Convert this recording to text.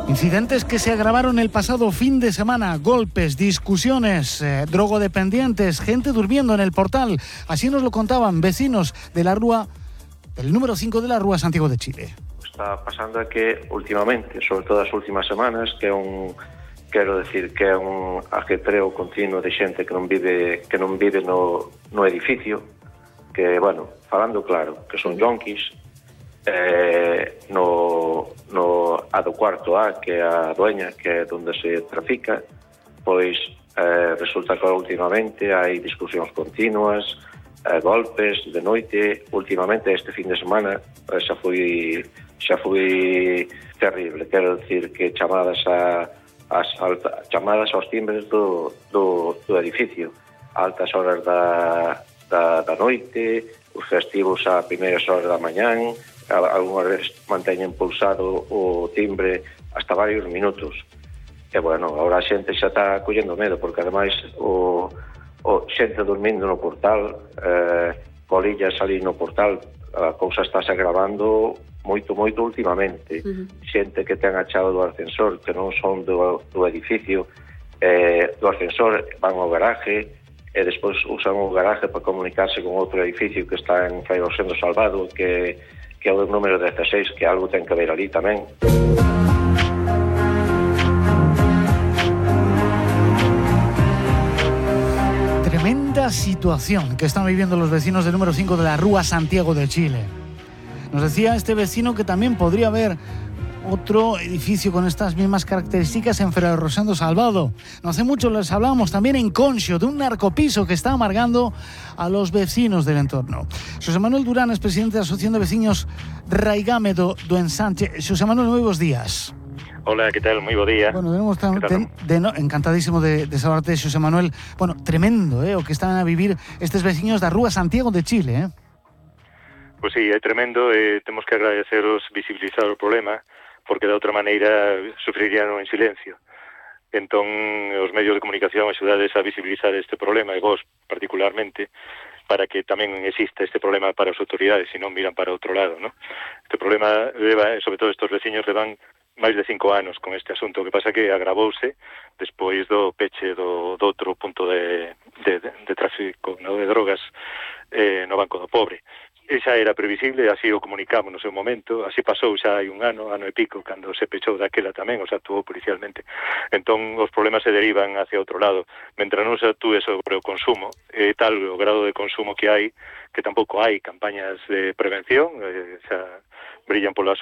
Incidentes que se agravaron el pasado fin de semana, golpes, discusiones, drogodependientes, gente durmiendo en el portal. Así nos lo contaban vecinos de la rúa, del número 5 de la rúa Santiago de Chile. Está pasando é que últimamente, sobre todo as últimas semanas, que é un ajetreo continuo de xente que non vive no edificio, que, bueno, falando claro, que son yonkis, no a do cuarto A, que é a dueña, que é onde se trafica, pois resulta que últimamente hai discusións continuas, golpes de noite. Últimamente, este fin de semana, xa foi terrible. Quero dicir que chamadas aos timbres do edificio, a altas horas da noite, os festivos a primeiras horas da mañán, algunhas veces manteñen pulsado o timbre hasta varios minutos. E, bueno, agora a xente xa está collendo medo, porque ademais o xente dormindo no portal, colillas ali no portal, a cousa está se agravando moito últimamente. Xente que ten a chave do ascensor, que non son do edificio, do ascensor van ao garaje, e despois usan o garaje para comunicarse con outro edificio que está en Fai Rosendo Salvado, que é o número 16, que algo ten que ver ali tamén. Tremenda situación que están viviendo los vecinos del número 5 de la rúa Santiago de Chile. Nos decía este vecino que también podría haber otro edificio con estas mismas características en Fray Rosendo Salvado. No hace mucho les hablábamos también en Conxo de un narcopiso que está amargando a los vecinos del entorno. Xosé Manuel Durán es presidente da Asociación de Veciños Raigame do Ensanche. Xosé Manuel, moi bons días. Hola, ¿qué tal? Muy buen día. Bueno, encantadísimo de saludarte, Xosé Manuel. Bueno, tremendo, o que están a vivir estes veciños da rúa Santiago de Chile, Pues sí, é tremendo, temos que agradeceros visibilizar o problema, porque de outra maneira sufrirían en silencio. Entón, os medios de comunicación axudades a visibilizar este problema, e vos particularmente, para que tamén exista este problema para as autoridades, e non miran para outro lado, ¿no? Este problema leva, sobre todo estes veciños, levan máis de 5 anos con este asunto. O que pasa que agravouse despois do peche do outro punto de tráfico, no, de drogas no Banco do Pobre. E xa era previsible, así o comunicamos no seu momento, así pasou xa hai un ano e pico, cando se pechou daquela tamén, o sea, actuou policialmente. Entón, os problemas se derivan hacia outro lado. Mentre non se actúe sobre o consumo, tal o grado de consumo que hai, que tampouco hai campañas de prevención, xa brillan polas